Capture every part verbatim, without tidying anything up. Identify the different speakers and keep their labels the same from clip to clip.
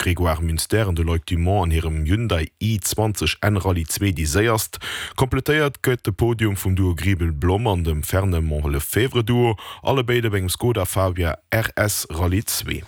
Speaker 1: Grégoire Munster an de Loïc Dumont an hirem Hyundai i zwanzeg N Rallye zwee déi séierst. Kompletéiert gëtt de Podium vum Duo Griebel-Blom an dem Fernemont-Lefebvre-Duo, allebéid op engem Skoda Fabia R S Rallye zwee.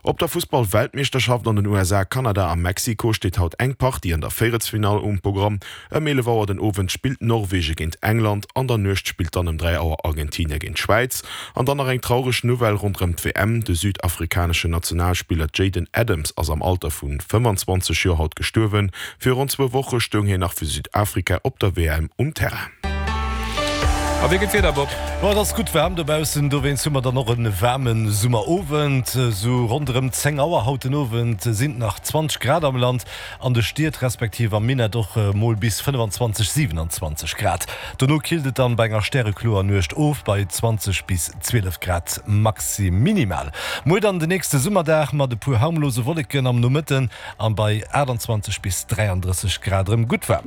Speaker 1: Op der Fussball-Weltmeeschterschaft an den U S A, Kanada a Mexiko steet haut eng Partie an der Véierelsfinall um Programm. Ëm eelef Auer den Owend spillt Norwege géint England, an der Nuecht spillt dann ëm dräi Auer Argentinien géint d'Schwäiz. An dann nach eng traureg Nouvelle ronderëm d'W M. De südafrikaneschen Nationalspiller Jayden Adams ass am Alter vu fëmmanzwanzeg Joer haut gestuerwen. Virun zwou Woche stoung hien nach fir Südafrika op der W M um Terrain.
Speaker 2: A wéi geet d'Wieder, Bob?
Speaker 3: Ma et ass gutt waarm dobaussen, dowéinst hu mer dann och e waarme Summerowend. Sou ronderëm zéng Auer haut den Owend sinn et nach zwanzeg Grad am Land, an de Stied respektiv am Minett och mol bis fënnwanzwanzeg, siwenanzwanzeg Grad. Dono killt et dann bei enger stärekloer Nuecht of bei zwanzeg bis zwielef Grad maxi minimal. Muer dann den nächste Summerdag mat e puer harmlose Wolleken am Nomëtten an bei aachtanzwanzeg bis dräiandrësseg Grad erëm gutt waarm.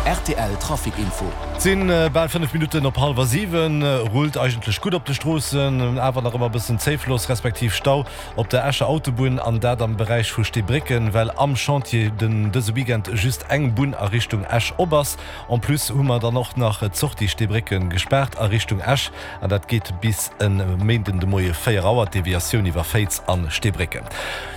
Speaker 4: R T L Trafic Info.
Speaker 3: Et sinn bal fënnef Minutten op hallwer siwen. Rullt eigentlech gutt op de Stroossen, awer nach ëmmer e bëssen Zéifloss respektiv Stau op der Escher Autobunn an dat am Beräich vu Steebrécken, well am Chantier den dëse Weekend just eng Bunn a Richtung Esch op ass. En plus hu mer dann och nach d'Sortie Steebrécken gespaart a Richtung Esch an dat geet bis e Méinden de Moie véier Auer, d'Deviatioun iwwer Féiz an Steebrécken.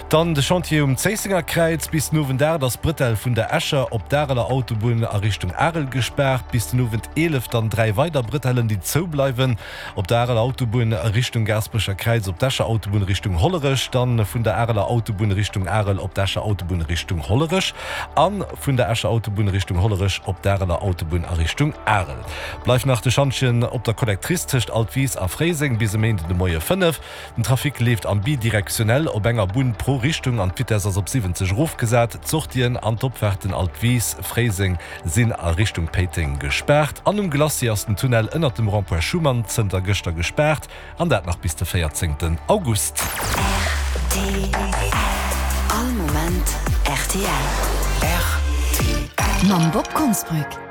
Speaker 3: Dann de Chantier um Zéissenger Kräiz. Bis den Owend aacht ass d'Bretelle vun der Escher op d'Areler Autobunn a Richtung Arel gespaart. Bis den Owend eelef dann dräi weider Bretellen, déi zoubleiwen. Op der Areler Autobunn a Richtung Gaasperecher Kräiz, op d'Escher Autobunn Richtung Hollerech, dann vun der Areler Autobunn Richtung Arel op d'Escher Autobunn Richtung Hollerech an vun der Escher Autobunn Richtung Hollerech op d'Areler Autobunn a Richtung Arel. Bleift nach de Schantjen op der Collectrice tëscht Altwis a Fréiseng bis e Méinden de Moie fënnef. Den Trafic leeft am bidirektionell op enger Bunn pro Richtung an d'Vitesse ass op siwwenzeg erofgesat. D'Sortien an d'Opfahrten Altwis, Fréiseng sinn a Richtung Péiteng gespaart. An um Glacis ass den Tunnel ënnert dem Rond-point Schuman zënter gëschter gespaart an dat nach bis de véierzéngten August.
Speaker 5: R T L. All Moment R T L.
Speaker 4: R T L.
Speaker 5: Mam Bob Konsbrück.